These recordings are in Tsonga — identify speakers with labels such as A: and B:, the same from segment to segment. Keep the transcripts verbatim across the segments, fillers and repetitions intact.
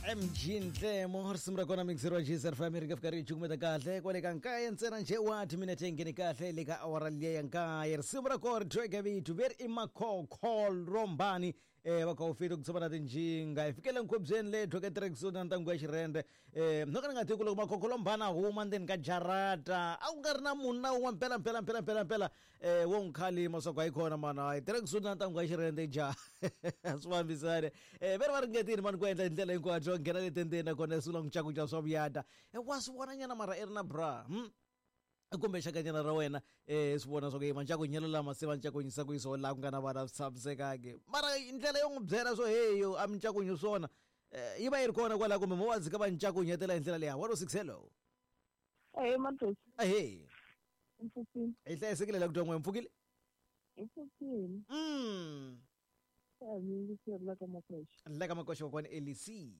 A: M G Ntlemo risimu ra kona mixer wa G S R F ri nga fika ri cukumeta kahle kwale ka nkaye ntsena nje wa timinete ngheni kahle le ka awara liya ya nkaye risimu ra kona ri thweke vito veri i Makhokho Rombani eh va kha u fika ku tshama na tinjinga hi fikele nkhubyeni le thweke tracksuit na ntangu ya xirhende eh no ka ni nga tivi ku loko Makhokho Rombani a huma ndzeni ka jarata a ku nga ri na munhu na wun'we mpela mpela mpela mpela mpela eh wo n'wi khalima swa ku hayi kona mana hayi tracksuit na ntangu ya xirhende ja swi fambisane eh veri va ringetile mani ku endla hi ndlela hinkwayo nghena le tendeni nakona sula n'wi cakuca swa vuyata wa swi vona nyana mara i ri na bra hmm? Kumbe xakanyana ra wena eh swi vona swa ku yima ncakunyelo lama se va ncakunyisa ku yiso laha ku nga na vana swi tshamisekangi mara ndlela yo n'wi byela swo heyo a mi ncakunyi swona yi va yi ri kona kwalaho kumbe mo va dzika va ncakunyetela hi ndlela leya one oh six hello.
B: Ahee Matosi.
A: Ahee.
B: Mpfukile.
A: Hi hlayisekile la ku twa n'we mpfukile?
B: Hi pfukile.
A: Mm.
B: La ka Makoxa.
A: La ka Makoxa kokwana Elisi.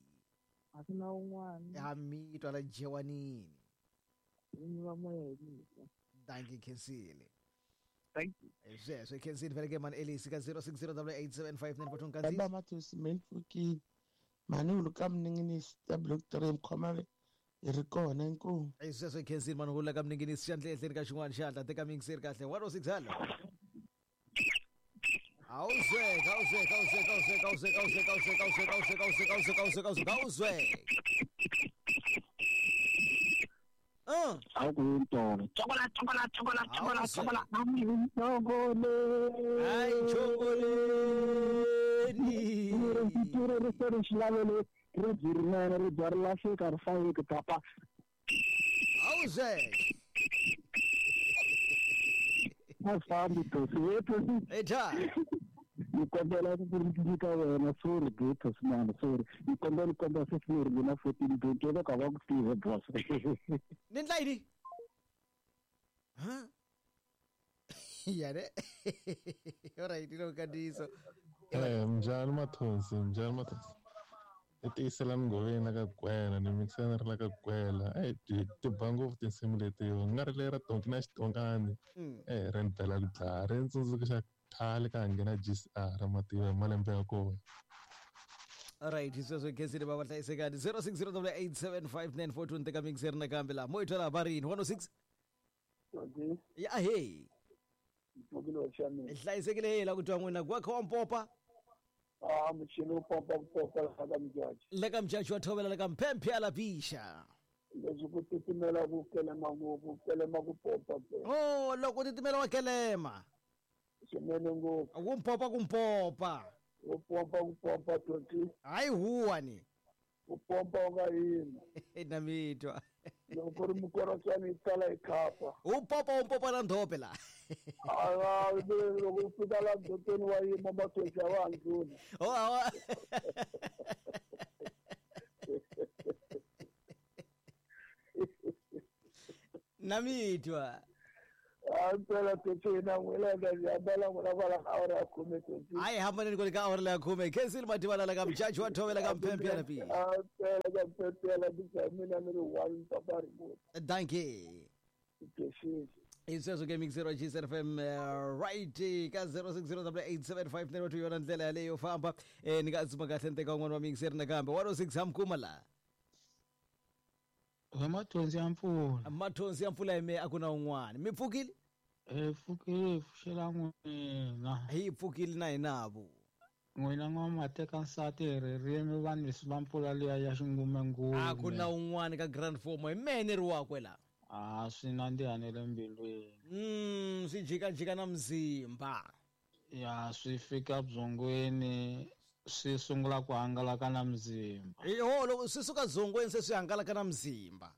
B: A ku na un'wana.
A: Ha mi twa la Jewanini.
B: Ni va moya hi mina.
A: Thank you Khensile.
B: Thank you.
A: Sweswo Khensile vele ke man Elisi ka zero six zero eight seven five nine four two kanzi.
C: Baba Matosi mpfukile. Mani u ka mninginisi ta block three mkhoma hi ri kona inkomu.
A: Sweswo Khensile mani u la ka mninginisi xandla ehleni ka xin'wana xandla teka mixer kahle one oh six hello. Awuzwe, awuzwe, awuzwe, awuzwe, awuzwe, awuzwe, awuzwe, awuzwe, awuzwe, awuzwe, awuzwe, awuzwe, awuzwe, awuzwe. Ah,
D: awuntolo. Chokola, chokola, chokola, chokola, chokola. Chokole.
A: Ay, chokoleni.
D: Ri ri ri xilavelo ri byi rinene ri bya ri lahleka ri fayeki papa.
A: Awuzwe.
D: A fambi Tosi we Tosi.
A: Eja.
D: Ni kombela ku nyika wena sorry be Tosi man sorry. Ni kombela ku kombela fifteen ri na fourteen twenty va ka va ku tive boss.
A: Ni ndla yini? Ha? Yare. Alright, lo kadiso.
E: Eh mjani Mathonsi, mjani Mathonsi. I tiyisela mgoveni la ka gwela ni mixana ri la ka gwela eh ti ba ngopfu tinsimu leti nga ri lera tonki na xitonkani eh ri ni bela ku dlaya ri ni tsundzuxa khale ka nghena G S R mativa malembe ya kona.
A: Alright, sweswo Khensile va va hlayisekani zero six zero eight seven five nine four two teka mixer nakambe laha mo hi twela varini one oh six. Ya hey. Hlayisekile hey la ku twa n'wina ku kha wa mpopa.
F: Ah, muchini wo pompa ku pompa la ka Mjaji.
A: La ka Mjaji wa thovela la ka Mphemphe ya lapisha.
F: Leswi ku titimela ku kelema ngopfu, kelema ku pompa.
A: Oh, loko titimela wa kelema.
F: Swinene ngopfu.
A: Ku mpopa ku mpopa.
F: Ku pompa ku pompa twenty.
A: Hayi huwa ni.
F: Ku pompa u nga yimi.
A: Na mitwa.
F: Loko ri mukorotswana yi tala yi khapa.
A: U pompa u mpopa na ndhope la.
F: Ah, loko u fika la ndhopeni wa yima Mathonsi a va ndlula.
A: Oh, awa. Na mitwa.
F: Ah, mpela Tosi na n'wina ka hambana n'wina kwala ka awara ya khume Tosi.
A: Hayi hambaneni kwale ka awara ya khume. Khensile Mativana la ka Mjaji wa thovela ka Mphemphe ya lapi.
F: Ah, mpela ka Mphemphe ya lapi mina ni ri one papa remote.
A: Thank you. Iswezo ke mixer wa G S R F M right ka zero six zero eight seven five nine two yona ndlela yaleyo famba eh ni nga tsuma kahle nteka un'wana wa mixer nakambe one oh six hamkuma la.
C: We Mathonsi ya mpfula.
A: Mathonsi ya mpfula ime a ku na un'wana. Mi pfukile?
C: Eh pfukile pfuxela n'wina.
A: Hi pfukile na hinavo.
C: N'wina n'wa teka nsati hi ririmi vanhu leswi va mpfula liya ya xingumengume.
A: A ku na un'wana ka grand form hi mene ri wakwe la.
C: Ah swi nandziha ne le mbilwini.
A: Mm swi jika jika na mzimba.
C: Ya swi fika byongweni swi sungula ku hangalaka na mzimba.
A: Yo loko swi suka dzongweni se swi hangalaka na mzimba.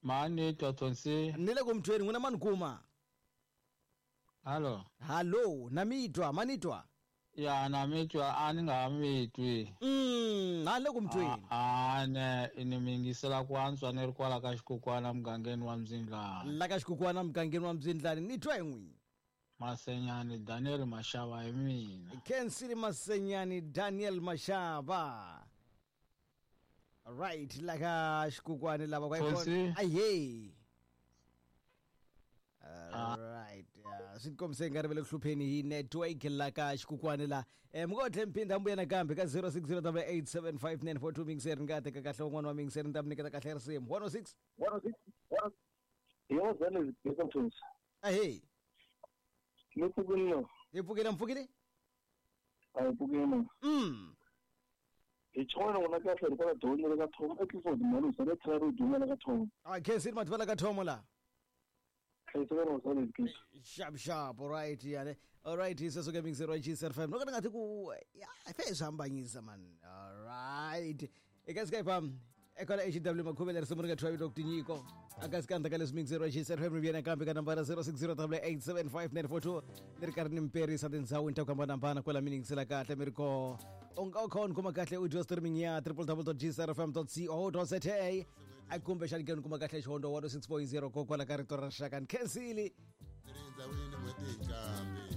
C: Mani twa Tonsi.
A: Ni le ku mtweni n'wina mani kuma.
C: Hallo.
A: Hallo, na mitwa, manitwa.
C: Ya na mitwa a ni nga mitwi.
A: Mm, a le ku mtweni.
C: A ne ni mingisela ku antswa ni ri kwala ka xikukwana mugangeni wa Mzindlani.
A: La ka xikukwana mugangeni wa Mzindlani ni twa hi n'wina.
C: Masenyani Daniel Mashava hi mina.
A: Khensile Masenyani Daniel Mashava. Right, la ka xikukwana lava kwa
C: Aye.
A: All right. Swi tikombise nga ri ve le ku hlupheni hi network la ka xikukwani la. Eh mi ngo tlhe mphinda mbuya nakambe ka zero six zero double eight seven five nine four two mingiseri ni nga teka kahle un'wana wa mingiseri ni ta mi nyiketa kahle risimu one oh six.
F: Yebo zale zibheka mthunzi.
A: Ahee.
F: Ni pfukile no.
A: Hi pfukile mpfukile?
F: A hi pfukile.
A: Mm.
F: Hi chona ngona kahle ri kwala doni le ka thoma e Clifford Malusa le tlhela ri duma le ka thoma.
A: A khensini mativa la ka thomo la.
F: Khensini zale zibheka.
A: Sharp sharp, all right yani. All right, sweswo ke mingiseri wa G S F M. No ka ni nga ti ku ya fe swi hambanyisa man. All right. Eka Skype um ekwala H W Makhuvele risimu ri nga thyiwa vito ku tinyiko. Aka sikandza ka leswi mingiseri wa G S F M ri vuya nakambe ka nambara zero six zero double eight seven five nine four two ni ri karhi ni mperisa tindhawini ta ku hambanahambana kwala mi yingisela kahle mi ri koho. U nga u kha u ni kuma kahle audio streaming ya triple w dot g s r f m dot co dot z a a kumbexani ke ni kuma kahle xihondo one oh six point zero kokwala ka rito ra rixaka ni khensile.
G: Ri ndzawini n'hweti hi kambe.